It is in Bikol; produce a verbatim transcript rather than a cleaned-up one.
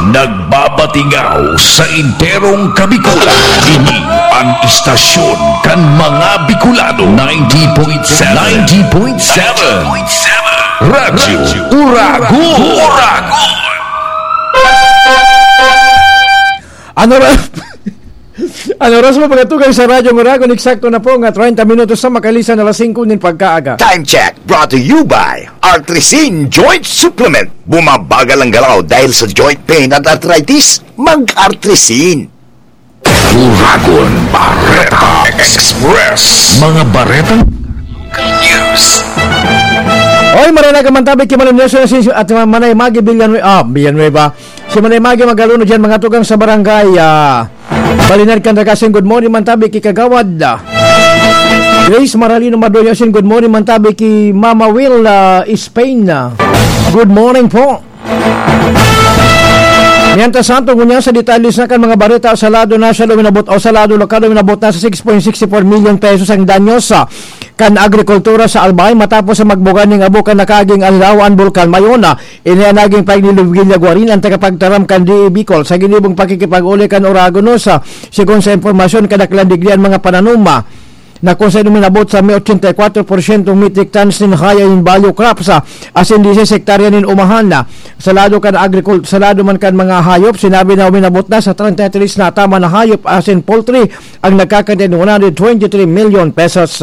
Nagbabatingaw sa enterong Kabikulan. Ini ang istasyon kan mga Bicolano, ninety point seven. ninety point seven. Radyo Uragon. Uragon. Ano ra-, ano oras mo pagkatugang sa Radyo Uragon? Eksakto na po nga treinta minutos sa makalisan alas singko nin pagkaaga. Time check brought to you by Artrisin Joint Supplement. Bumabagal ang galaw dahil sa joint pain at arthritis. Mag-Artrisin. Uragon Bareta Express. Mga baretang news. Oy, maranagan man tabi ki Manong Nelson Asensio at Manay Maggie Villanueva. Ah, Villanueva. Si Manay Maggie Magaluno dyan, mga tugang sa barangay, ah, Balinan kan Ragasin. Good morning man tabi ki Kagawad, ah, Grace Maralino Madoyasin. Good morning man tabi ki Mama Will, ah, Spain, ah. Good morning po. Mientras tanto, ngunyan sa detalye sa kan mga bareta, sa lado nasyonal uminabot o sa lado lokal uminabot na sa six point six four million pesos ang danyos, ah, kan agrikultura sa Albay matapos sa magbugan ning abo kan nakaging alilaw an Bulkan Mayona. Ini an naging pahayag ni Luvilia Guarin, an tagapagtaram kan D A Bicol, sa ginibong pakikipag-uli kan Oragon News. Sigon sa impormasyon, kadaklan digdi an mga pananuma na kung saan uminabot sa may ochenta y cuatro por ciento metric tons nin high in value crops, ah, asin diseis hektarya nin umahan na sa lado kan agrikul-, sa lado man kan mga hayop. Sinabi na uminabot na sa treinta y tres na tama na hayop asin poultry ang nagkakantidad ng one hundred twenty-three million pesos.